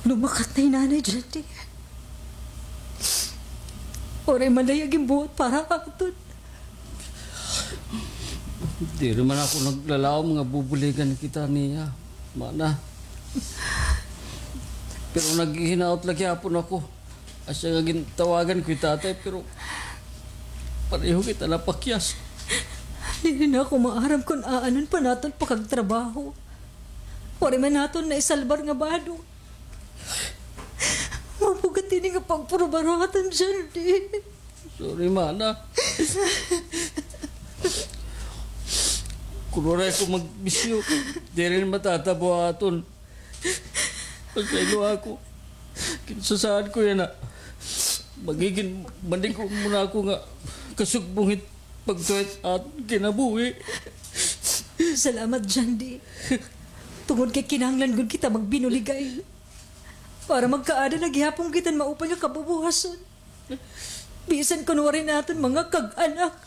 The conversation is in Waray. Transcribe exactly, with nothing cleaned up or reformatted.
Lumakat na hi Nanay Jandy. Waray man la iya ginbuhat para ha aton. Diri man ako naglalaom nga bubuligan kita niya, mana. Pero naghihinaot la gihapon ako. Asya nga gintawagan ko hi Tatay, pero pareho kita napakyas. Diri na ako maaram kon aanon pa naton pakagtrabaho. Waray man naton naisalbar nga bado. Mabugat ini nga pagprubaratan, Jandy. Sorry, mana. Kun waray ko magbisyo, diri na matatabo aton. Pasayloa ako. Kinsasaad ko yana. Magigin manig-on mo na ako nga kasugbong hit pagtuhit ha aton kinabuhi. Salamat, Jandy. Tungod kay kinahanglan gud kita magbinuligay para magkaada na gihapon kita hin maupay nga kabubuhason. Bisan kon waray naton mga kag-anak.